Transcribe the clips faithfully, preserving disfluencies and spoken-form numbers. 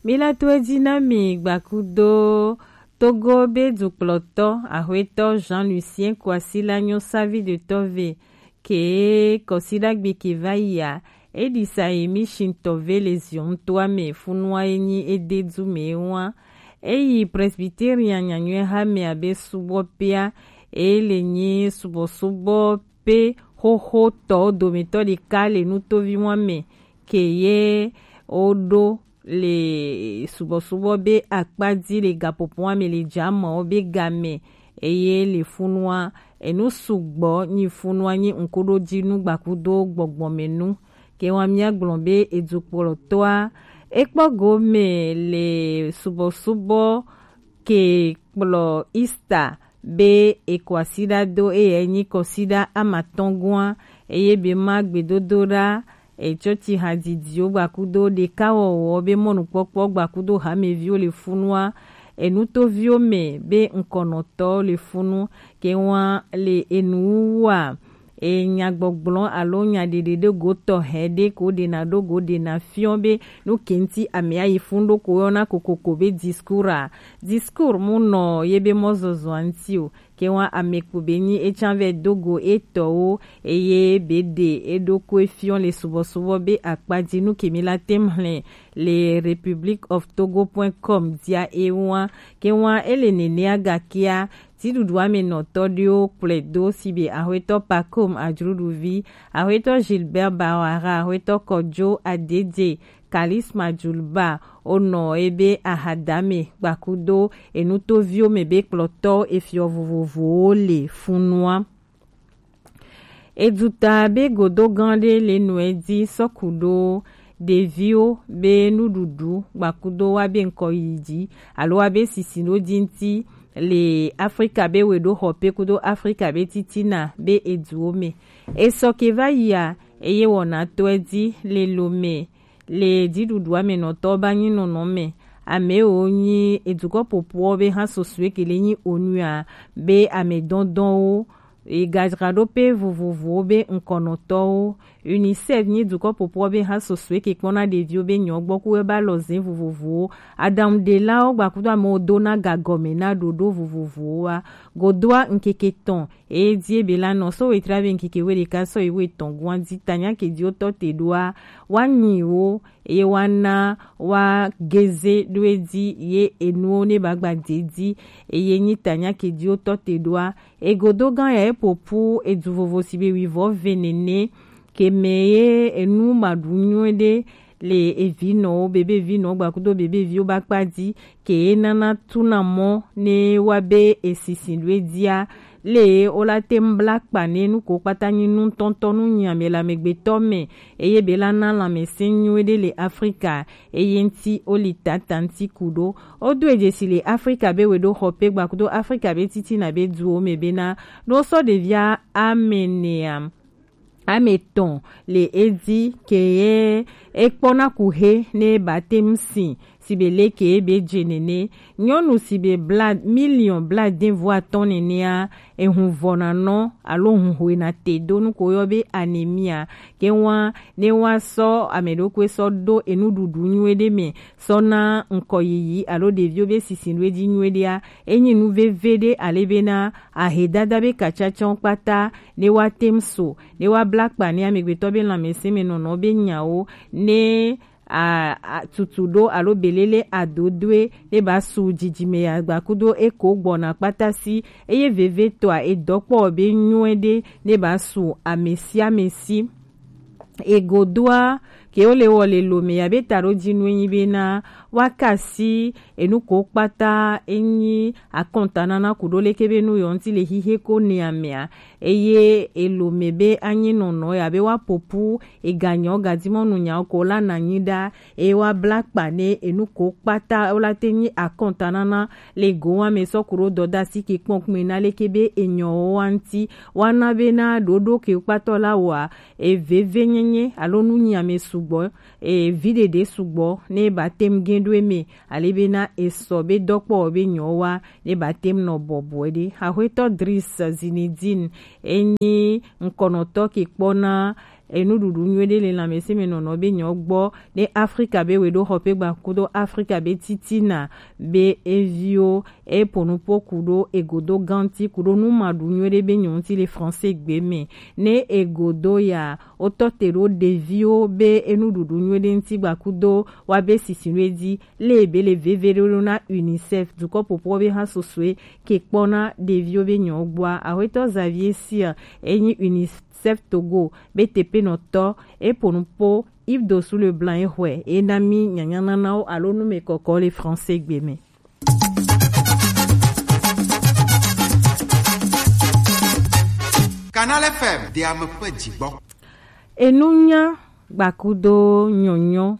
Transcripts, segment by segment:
Mi la to edzi na mi gbakudo Togo be dukplɔtɔ, Ahuetɔ Jean Lucien Kwasi la nyɔ savi de tɔve ke kɔsidagbe ke va yia, e ɖi sa yi mi shintɔ ve le ziɔn toa me funua e nyi e de du me wa. E yi Presbyterian nyanyɔe ha me abe subɔ pea, e le nyi subɔsubɔ pe xoxo tɔ dometɔ ɖeka le nutovi wa me ke ye o ɖo le subɔsubɔ be akpa dzi le gaƒoƒoa me le dza me wo be game, eye le funua enu sugbɔ nyi funua nyi ŋkuɖodzinu gbakudo gbɔgbɔmenu. Ke wa mía gblɔ be edukplɔtɔa ekpɔ gome le subɔsubɔ ke kplɔ Easter be ekɔ asi ɖa do eye enyi kɔsiɖa amatɔngɔa, eye be ma gbedodoɖa etsɔtsi hadzidziwo gbakudo ɖekawɔwɔ be mɔnukpɔkpɔ gbakudo hameviwo le funua, enutoviwo me be ŋkɔnɔtɔwo le funu, ke wa le enuwuwua enyagbɔgblɔ alo nyaɖeɖe ɖo go tɔxɛ ɖe ko ɖena ɖo go ɖena fiɔ be nu ke ŋuti ame ayi fun ɖo ko yɔna kokoko be discours a. Discours mu nɔ ye be mɔzɔzɔa ŋuti o. Ke wa ame kpo be nyi etsa vɛ do go etɔwo eye be ɖe eɖokui fiɔ le subɔsubɔ be akpa dzi nu ke mi la tem hlɛ le Republic of Togo point com dia e wa. Ke wa ele nenea gakea Dziɖuɖu amenɔtɔ ɖewo kplɔe do si be Ahuetɔ Pacome Adjouroudouvy, Ahuetɔ Gilbert Bawara, Ahuetɔ Kojo Adedje, Kalisma Djouliba, onɔ ebe ahadame gbakudo enutoviwo me be kplɔtɔ efiɔ vovovowo le funua. Eduta be godo gã ɖe le nɔe dzi sɔku ɖo ɖeviwo be nuɖuɖu gbakudo wa be ŋkɔ yi dzi alo wa be sisi ɖo dzi ŋuti le Afrika be we ɖo xɔ pe kudo Afrika be titina be eduwo me. Esɔ ke va yia eye wɔna tɔe dzi le lo me le dziɖuɖu amenɔtɔ ba nyi nɔnɔ me. Amewo nyi edukɔ popoɔ be hã sosue ke le nyi onua be amedɔndɔnwo Egadraɖope vovovowo be ŋkɔnɔtɔwo. UNICEF nyi dukɔ popoɔ be ha sosue ke kpɔna ɖeviwo be nyɔ gbɔ ku eba lɔzɛ vovovowo. Aɖaŋuɖelawo gbakudo amewo dona gagɔme na ɖoɖo vovovowoa. Godoa ŋkeke tɔn eye die be la nɔ sɔ wetra be ŋkeke we ɖeka sɔ yi we tɔn gua di tanya ke di wotɔ te ɖoa wa nyi wo eye wa na wa geze ɖo edzi ye enuwo ne ba gba de dzi eye nyi tanya ke di wotɔ te ɖoa. Egodo gã ya eƒoƒu edu vovo si be wuivɔ ve nene ke me ye enu maɖu nyuie ɖe le evinɔwo bebe vinɔwo gbakudo bebe viwo ba kpa dzi ke ye nana tuna mɔ ne wa be esisi ɖo edzia le wo la te ŋu bla kpa ne nu ko kpata nyi nu tɔntɔ nu nyi ame le amegbetɔ me eye be la na lãmesẽ nyuie ɖe le Afrika eye ŋuti wo li tata ŋuti ku ɖo. Wodo edzesi le Afrika be weɖoxɔpe gbakudo Afrika be titina be duwo me bena ne wosɔ ɖevia ame enea, ame etɔn le edzi ke ye ekpɔna kuxe ne ba te ŋu si si be leke ye be dze nene. Nyɔnu si be bla miliɔn bladeveatɔ̃ nenea, ehun vɔna nɔ alo hun hwena te do nu ko yɔ be anemia. Ke wa ne wa sɔ ame ɖokui sɔ ɖo enuɖuɖu nyuie ɖe me sɔ na ŋkɔ yiyi alo ɖeviwo be sisi ɖo edzi nyuie ɖea, enyi nu veve ɖe ale bena ahedada be katsatsawo kpata ne wa te ŋu so ne wa bla kpa ne amegbetɔ be lãmesẽ me nɔnɔ be nyawo ne a, a, tutu ɖo alo belele adodoe ne ba su dzidzime ya gbakudo eko gbɔna kpata si eye vevetɔa edɔkpɔ be nyuie ɖe ne ba su ame sia ame si. Egodoa ke wo le wɔ le lo me ya be ta ɖo dzi nu enyi bena wa kasi enu ko kpata enyi akɔntanana ku ɖo leke be nu yɔ ŋuti le xixe ko ne amea eye elo me be anyi nɔnɔ ya be wa popu eganyɔ gadimɔnu nyawo ko la na nyi ɖa eye wa bla kpa ne enu ko kpata wo la te nyi akɔntanana le go wa me sɔ ku ɖo dɔdasi ke kpɔn kpɔn na leke be enyɔwo wa ŋuti wa na be na ɖoɖo ke kpatɔ la wa eveve nyenye alo nu nyi ame sugbɔ evi ɖeɖe sugbɔ ne ba tem gen ɖo eme ale be na esɔ be dɔkpɔ be nyɔ wa ne ba tem nɔ bɔbɔe ɖe. Axwetɔ Dris Zinedine enyi ŋkɔnɔtɔ ke kpɔna enuɖuɖu nyuiɖe le lãmesẽmenɔnɔ be nyɔ gbɔ, ne Afrika be weɖoxɔƒe gba kudo Afrika be titina be eviwo, e po nupo kudo egodo ganti kudo numaɖu nyuiɖe be nyɔ ŋuti le français gbe me. Ne egodo ya, wotɔ te ɖo ɖeviwo be enuɖuɖu nyuiɖe ŋuti gba kudo wa be sisinuɖe dzi, le be le veve ɖo na UNICEF, dukɔ popo be hã sosoe ke kpɔna ɖeviwo be nyɔ gbɔa. Axwetɔ Xavier Cyr, enyi UNICEF Togo be tepenɔtɔ, e po nupo Yves Dossou Leblanc e xɔe, e na mi nyanyananawo alo numekɔkɔ le français gbe me. Canal F M, de ame ƒe dzigbɔ. Enunya gbakudo nyɔnyɔ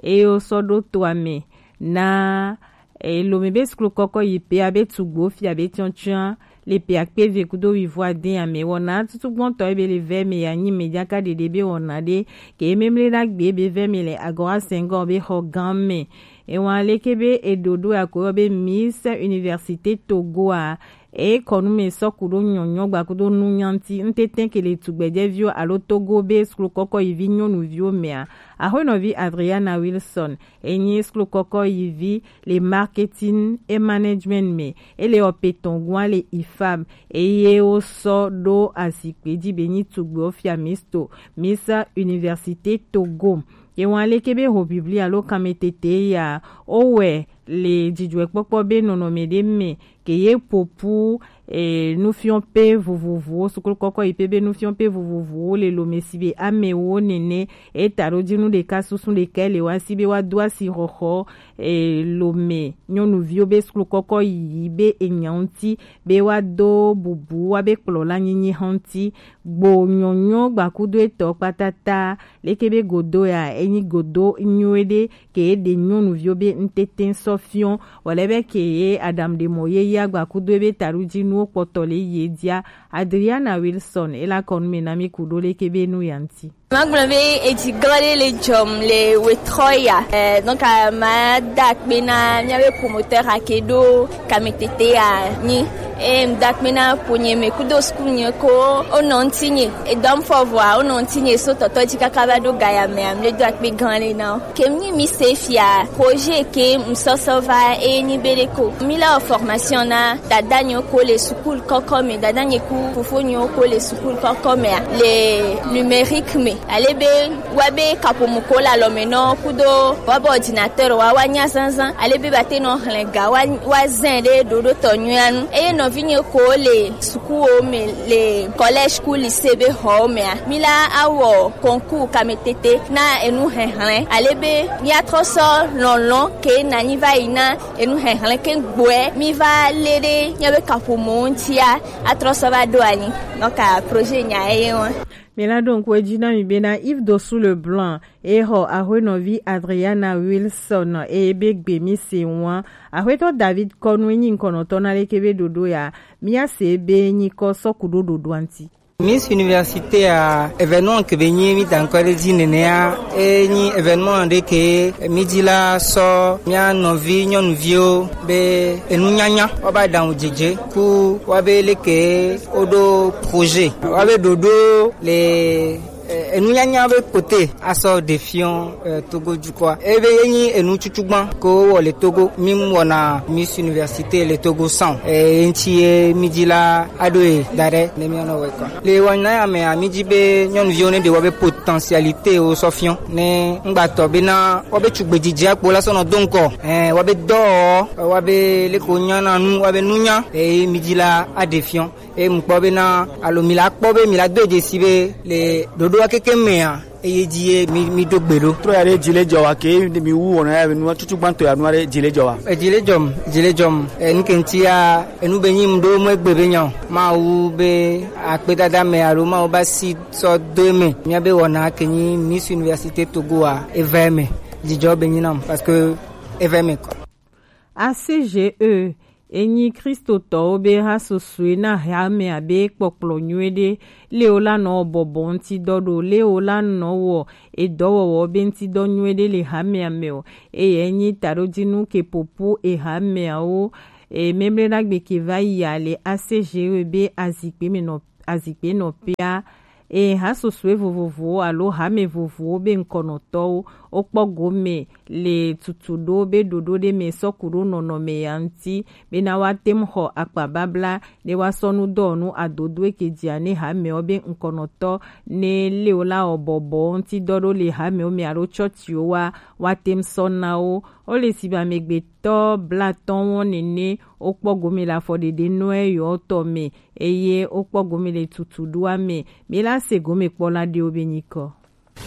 eye wosɔ ɖo toa me na, e, Lome be suklu kɔkɔ yi pea be tugbo fia be tiɔtiɔa le pea kpe ve kudo wivo ade ame wɔna tutu gbɔntɔ ebe le vɛ me ya nyi me jaka ɖeɖe be wɔna ɖe ke memle ɖagbe be vɛ me le Agora Senghor be xɔ gã me. Ewa leke be eɖoɖo ya ko yɔ be Miss Université Togo a, e kɔnu me sɔ kudo nyɔnyɔ gbakudo nu nyanti ntete ke le tugbɛjɛviwo alo Togo be suklu kɔkɔ yi vi nyɔnuviwo mea. Axwenɔvi Adriana Wilson, enyi suklu kɔkɔ yi vi le marketing et management me, ele ɔpetɔn gua le ifab, eye wosɔ ɖo azikpe ji be nyi tugbe ofia misto Miss Université Togo. Ye wan leke be ho biblia lo kame tete ya, o wɛ le jijɔɛkpɔkpɔ be nɔnɔme ɖe me ke ye popu, e, nufiɔƒe vovovowo, suklu kɔkɔ yi pe be nufiɔƒe vovovowo le Lome si be amewo nene. E ta ɖo ji nu ɖeka susu ɖeka le wa si be wa do asi xɔxɔ, e, Lome nyɔnuviwo be suklu kɔkɔ yi be enya ŋuti be wa do bubu wa be kplɔla nyinyi hã ŋuti. Gbo nyɔnyɔ gbakudo etɔ kpatata leke be godo ya, enyi godo nyuie ɖe ke ɖe nyɔnuviwo be ŋtete sɔ fiɔ, wòle be ke ye Adam ɖe mɔ ye ya gbakudo ebe taɖodzinuwo kpɔtɔ le ye dia. Adriana Wilson, ela kɔnu me na mi kudo leke be nu ya ŋti. Magblɔ be edzi gã ɖe le dzɔm le wetrɔ ya. Eh, donc, ah, mada akpe na míabe promoteur ake ɖo kametete ya nyi. Eye mda akpe na ƒonye me kudo suku nye ko wonɔ ŋutinye. Edɔm fɔ vɔa, wonɔ ŋutinye so tɔtɔ dzi kaka va ɖo gaya mea, mle do akpe gã ɖe na wo. Ke mi nyi mi se fia, projet ke ŋsɔsɔ va eye nyi be ɖe ko. Mi la wɔ formation na dada nyewo ko le sukulu kɔkɔ me, dada nye ku fofo nyewo ko le sukulu kɔkɔ mea, le numérique me. Ale be wa be kaƒomɔ ko le alɔme nɔ kudo wa be ordinateur wa, wa nya zazã. Ale be ba te nɔ hlẽ ga wa, wa zẽ ɖe ɖoɖo tɔ nyuia nu. Eye nɔvinye ko le sukuwo me le collège ku lycée be xɔwo mea, mi la awɔ concours kametete na enu hehlẽ. Ale be mi atrɔ sɔ lɔlɔ̃ ke na nyi va yi na enu hehlẽ ke gbɔe mi va le ɖe míabe kaƒomɔ ŋutia atrɔ sɔ va ɖo anyi. Donc, ah, projet nya eye wa. Mi la ɖo ŋku edzi na mi bena Yves Dossou Leblanc, e xɔ axwenɔvi Adriana Wilson, eye be gbe mi se wa. Axwetɔ David kɔnu enyi ŋkɔnɔtɔ na leke be ɖoɖo ya, mi ase be nyikɔ sɔ ku ɖo ɖoɖoa ŋti. Miss Université a, événement ke be nyi mi da ŋkɔ ɖe dzi nenea, e nyi événement ɖe ke mi dzi la sɔ mia nɔvi nyɔnuviwo be enunyanya wa ba ɖaŋu dzedze ku wa be leke woɖo projet wa be ɖoɖo le, eh, enunyanya be kote asɔ ɖe fiɔ, eh, Togo dukɔa. Ebe ye nyi enu tutsugban ko wɔ le Togo. Mi wɔna Miss Université le Togo san. Eh, ye ŋti ye mi dzi la aɖo ye da ɖe ne mi nɔ wɔ kɔ. Le wɔna ya mea, mi dzi be nyɔnuviwo ne ɖe wɔ be potentialité wo sɔ fiɔ. Ne ŋgbatɔ be na wɔ be tugbe dzidzi akpo la sɔ nɔ do ŋkɔ. Eh, wɔ be dɔ, wɔ be leko nyana nu, wɔ be nunya. Eh, mi dzi la aɖe fiɔ. Eye mukpɔ bena alo mi la kpɔ be mi la do edze si be le ɖoɖoa keke mea, eye dzi ye mi, mi ɖo gbe ɖo. Trɔ ya ɖe dzi le dzɔ wa ke mi wu wɔna ya be nua tutu gbãtɔ ya nua ɖe dzi le dzɔ wa. Edzi le dzɔm, dzi le dzɔm. E, nu ke ŋti ya, enu be nyi mu ɖo mu egbe be nya o. Mawu be akpedada me alo Mawu ba si sɔ do eme. Mía be wɔna ke nyi Miss Université Togo a, eva eme. Dzidzɔ be nyi nam parce que eva eme kɔ. A C G E, enyi Kristotɔwo be ha susue na hamea be kpɔkplɔ nyuie ɖe, le wo la nɔ bɔbɔ ŋuti dɔ ɖo, le wo la nɔ wɔ edɔwɔwɔ be ŋuti dɔ nyuie ɖe le hamea me o. Eye enyi taɖodzinu ke popo ehameawo, e, memle ɖagbe ke va yia le A C G E be azikpe me nɔ, azikpe nɔ pea, Eye hasosoe vovovowo alo hame vovovowo be ŋkɔnɔtɔwo wokpɔ gome le tutuɖo be ɖoɖo ɖe mɛ sɔku ɖo nɔnɔme ya ŋuti, bena woate ŋu xɔ akpababla ɖe woasɔ nu dɔwɔnu adodoe ke dzia ne hamewo be ŋkɔnɔtɔ ne le wo la wɔ bɔbɔwo ŋuti dɔ ɖo le hamewo mɛ alo tsɔtsiwo wa woate ŋu sɔ na wo. Wole si be amegbetɔ blatɔ̃ wɔn nene wokpɔ gome le afɔɖeɖe nɔe yewo tɔ mɛ, eye wokpɔ gome le tutuɖoa mɛ. Mi la se gome kpɔla ɖewo be nyikɔ.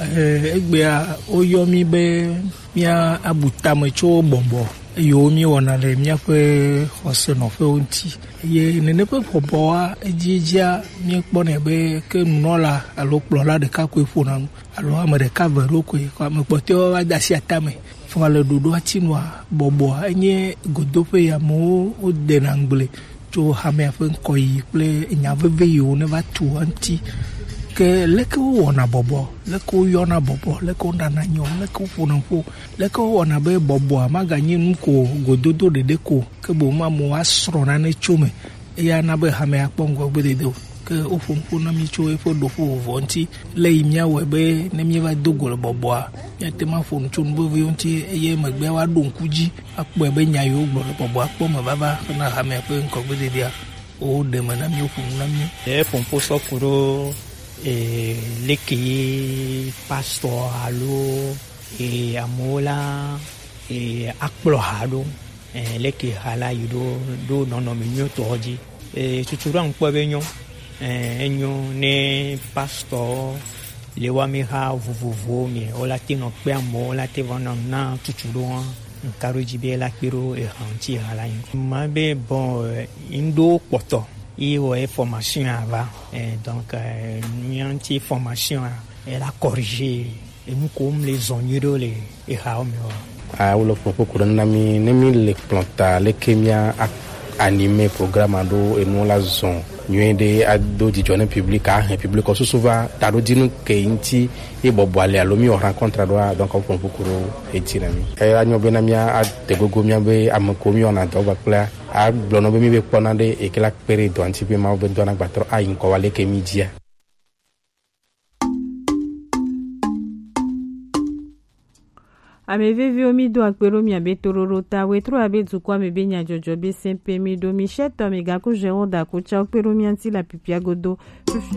Eh, egbea woyɔ mi be mía abu tame tso bɔbɔ yiwo míewɔna le míaƒe xɔse nɔƒewo ŋuti. Eye nene ƒe bɔbɔa, edziedzia, míekpɔnɛ be ke nunɔla alo kplɔla ɖeka koe ƒona nu, alo ame ɖeka ve ɖo koe, ame kpɔtɔewo va de asi atame. Fɔna le ɖoɖoa ti nua, bɔbɔa enye godoƒe yi amewo wodena ŋugble tso hamea ƒe ŋkɔyiyi kple nya veve yiwo ne va tu eŋuti. Ke leke wowɔna bɔbɔ, leke woyɔna bɔbɔ, leke woɖana nyɔ, leke woƒona ƒo, leke wowɔna be bɔbɔa maganye nu ko gododo ɖeɖe ko, ke boŋ amewo asrɔ̃ nane tso me, eya na be hamea akpɔ ŋgɔgbedede o. Ke woƒo nuƒo na mí tso eƒe ɖoƒo vovovoa ŋuti, le yi míawɔe be ne míeva do go le bɔbɔa, míate ŋu aƒo nu tso nu veviwo ŋuti, eye emegbea woaɖo ŋku dzi akpɔe be nya yiwo gblɔ le bɔbɔa kpɔ me vava hena hamea ƒe ŋgɔgbededea, woɖe me na mí, woƒo nu na mí. Eƒo nuƒo sɔ ku ɖo eh, leke ye pastor alo eh, amewo la eh, akplɔ ha ɖo, eh, leke ha la yi ɖo ɖo nɔnɔme nyuitɔ dzi. Eh, tutu ɖo aŋkpɔ be nyɔ, eh, enyo ne pastor le wa mi ha vovovowo me, wola te nɔ kpe amewo, wola te va nɔ na tutu ɖo hã. Nka ɖo dzi be la kpe ɖo eha ŋuti eha la nyi. Ma be bon, eh, ŋɖo kpɔtɔ ye wɔ ye formation ava. Eh, donc, eh, mía ŋuti formation a, ela corriger enu ko mle zɔn nyuie ɖo le ehawo me wa. Ah, wole ƒoƒo ku ɖe na mi, ne mi le kplɔ̃ ta, leke mía a-, anime programme alo enuwo la zɔn nyuie ɖe ado dzidzɔ ne public, ahe public susu va taɖodinu ke ŋuti ye bɔbɔa le alo mi wɔ rencontre ɖoa, donc woƒo ƒoƒo ku ɖo eti na mi. Eh, anyo be na mía ade gogo mía be ame ko mi wɔna dɔ kpakplea, agblɔ nɔ be mi be kpɔna ɖe eke la kpe ɖe dɔa ŋuti be Mawu be dɔa na gbatrɔ ayi ŋkɔ wa leke mi dzia. Ame veviwo, mi do akpe ɖo miabe toɖoɖo ta. Wetro abe dukɔa me be nyadzɔdzɔ be sɛnpe mi ɖo mi shɛtɔ mi gaku Jérôme Dakucha kpe ɖo mia ŋuti le apipia godo.